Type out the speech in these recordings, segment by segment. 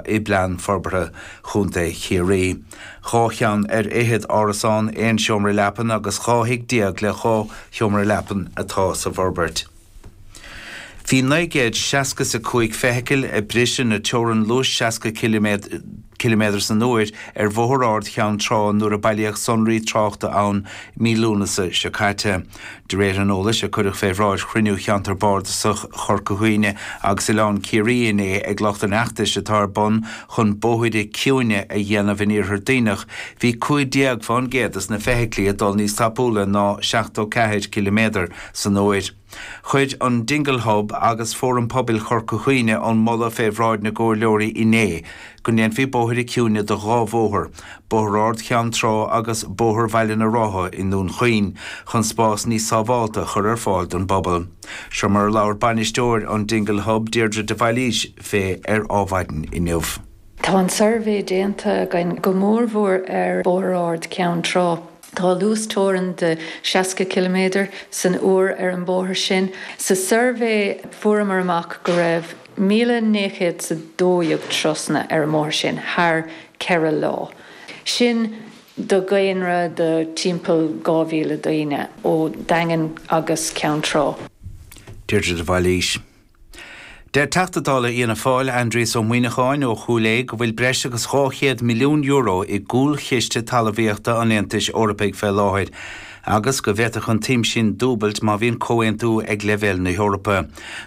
i bPlean Forbartha Chontae Chiarraí. 12 cheann ar fhichead árasán aon seomra leapan agus 12 thigh le 2 sheomra leapan atá sa bhforbairt. Bhí 965 feithicil ag briseadh na teorann luais 60 ciliméadar san uair ar Bhóthar Ard Cheann Trá nuair a bailíodh sonraí tráchta ann mí Lúnasa seo caite. De réir an eolais a cuireadh fé bhráid chruinniú Cheantar Bardasach Chorca Dhuibhne agus Oileán Ciarraí inné ag lucht an fheachtais atá ar bun chun bóithre ciúine a dhéanamh in Iarthar Duibhneach, bhí 15% des na feithiclí ag dul níos tapúla ná 74 ciliméadar san uair. Chuir an Dingle Hub agus Fóram Pobail Chorca Dhuibhne an moladh fé bhráid na gcomhairleoirí inné go ndéanfaí bóithre ciúine de dhá bhóthar, Bóthar Ard Cheann Trá agus Bóthar Bhaile na Rátha i nDún Chaoin, chun spás níos sábhálta a chur ar fáil don bpobal. Seo mar a labhair bainisteoir an Dingle Hub, Deirdre de Bhailís, fé ar Adhmhaidin inniu. Tá an suirbhé déanta againn go mórmhór ar Bhóthar Ard Cheann Trá. Tá luasteorainn de 60 ciliméadar san uair ar an bóthar sin. Sa suirbhé fuaireamar amach go raibh 1,912 turasanna ar an mbóthar sin thar 4 lá. Sin do dhaonra de timpeall 2,000 daoine ó Daingean agus Ceann Trá. Deirdre de Bhailís. Deir Teachta Dála Fhianna Fáil, Aindrias Ó Muimhneacháin ó Chúil Aodha go bhfuil breis agus €200 milliún i gcúlchiste talmhaíochta an Aontais Eorpaigh fé láthair agus go bhféadfadh an tsuim sin dúbailt má bhíonn comhaontú ag leibhéal na hEorpa.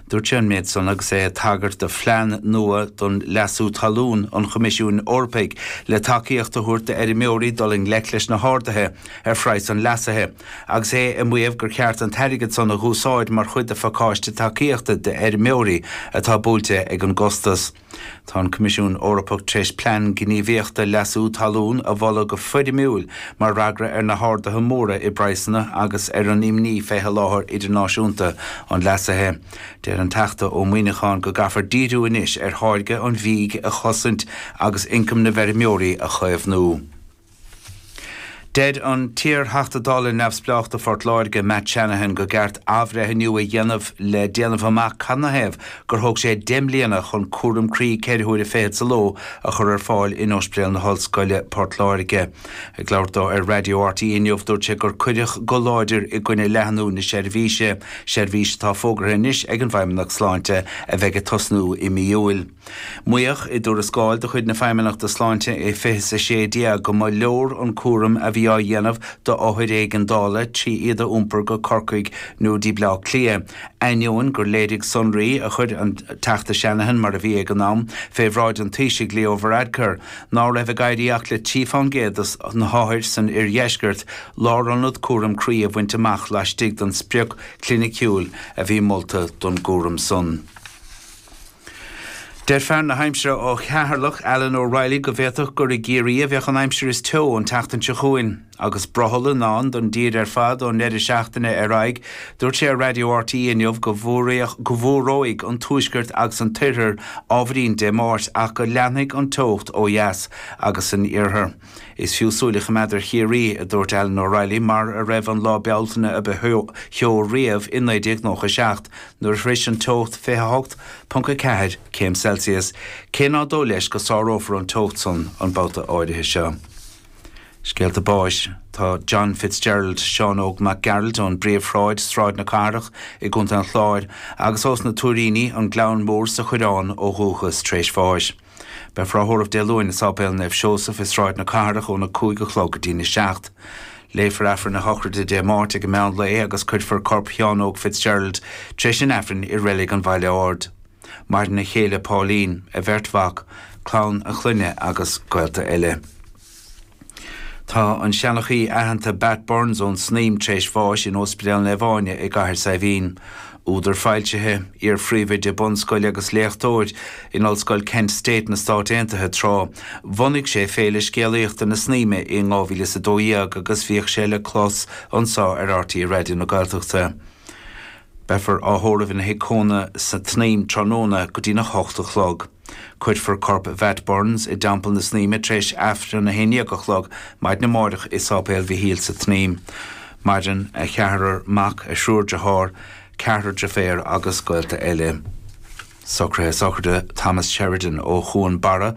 Dúirt sé an méid san agus é ag tagairt do phlean nua don leasú talún an Choimisiúin Eorpaigh le tacaíocht a thabhairt d'fheirmeoirí dul i ngleic leis na harduithe ar phraghas an leasaithe. agus é ag maíomh gur cheart an t-airgead san a dh'úsáid mar chuid de phacáiste tacaíochta d'fheirmeoirí atá buailte ag an gcostas. Tá an Coimisiún Eorpach tar éis plean gníomhaíochta leasú talún a mholadh go foirmiúil mar fhreagra ar na harduithe móra i bpraghsanna agus ar an imní fé sholáthar idirnáisiúnta an leasaithe. Deir an Teachta Ó Muimhneacháin go gcaithfear díriú anois ar tháirgeadh an bhídh a chosaint agus ioncam na bhfeirmeoirí a chaomhnú. Deir an t-iar-Theachta Dála neamhspleách do Phort Láirge, Matt Shanahan, go gceart athbhreithniú a dhéanamh le déanamh amach canathaobh gur thóg sé 10 mbliana chun cúram croí ceithre huaire fichead sa ló a chur ar fáil in Ospidéal na hOllscoile, Port Láirge. Ag labhairt dó ar Raidió RTÉ inniu, dúirt sé gur cuireadh go láidir i gcoinne leathnú na seirbhíse, seirbhís atá fógartha anois ag an bhFeidhmeannacht Sláinte a bheidh ag tosnú i mí Iúil. Maíodh i dtuarascáil de chuid na Feidhmeannachta Sláinte i 2016 go mba leor an cúram a bhí á dhéanamh d'othair éigeandála trí iad a iompar go Corcaigh nó dtí Bleá Cliath, ainneoin gur léirigh sonraí a chuir an Teachta Shanahan, mar a bhí ag an am, fé bhráid an Taoisigh Leo Varadkar, ná raibh ag éirí ach le 3 fán gcéad de na hothair san oirdheisceart lárionad cúram croí a bhaint amach laistigh den sprioc chliniciúil a bhí molta don gcúram san. Deir fear na haimsire ó Cheatharlach, Alan O'Reilly, go bhféadfadh gur i gCiarraí a bheadh an aimsir is teo an tseachtain seo chugainn. Agus brothall i ndán don dtír ar fad ón ndeireadh seachtaine ar aghaidh, dúirt sé ar Raidió RTÉ inniu go bhfuaróidh an tuaisceart agus an t-oirthear ábhairín Dé Máirt ach go leanfaidh an teocht ó dheas agus san iarthar. Is fiú súil a choimeád ar Chiarraí, a dúirt Alan O'Reilly, mar a raibh an lá Bealtaine a ba theo riamh i 1997, nuair a shroich an teocht 28.4 céim Celsius, cé ná dóigh leis go sárófar an teocht san an babhta áirithe seo. Scéalta báis. Tá John Fitzgerald, Seán Óg Mac Gearailt ón bPríomhshráid, Sráid na Cathrach i gContae an Chláir, agus ós na Tuairíní, An Gleann Mór sa Choireán ó dhúchas, tar éis bháis. Beifear á thórramh Dé Luain i Sáipéal Naomh Seosamh i Sráid na Cathrach óna 5 a chlog go dtína 7. Léifear Aifreann a shochraide Dé Máirt ag an meán lae agus cuirfear corp Sheáin Óg Fitzgerald tar éis an Aifrinn i Reilig an Bhaile Ard. Maireann a chéile Pauline, a bheirt mhac, clann a chlainne agus gaolta eile. Tá an seanchaí aitheanta Bat Burns ón Snaidhm tar éis bháis in Ospidéal Naomh Áine i gCathair Saidhbhín. Údar foilsithe, iar-phríomhoide bunscoile agus léachtóir in Ollscoil Kent State na Stáit Aontaithe tráth, bhunaigh sé Féile Scéalaíochta na Snaidhme i 2012 agus bhíodh sé le clos anseo ar RTÉ Raidió na Gaeltachta. Beifear á thórramh ina thigh cónaithe sa tSnaidhm tráthnóna go dtína hocht a chlog. Cuirfear corp Mhatt Burns i dTeampall na Snaidhme tar éis Aifreann 11 a chlog maidin amárach i Sáipéal Mhichíl sa tSnaidhm. Maireann a cheathrar mac, a thriúr dearthár, ceathrar deirféar agus gaolta eile. Socruithe sochraide Thomas Sheridan ó Chuan Barra.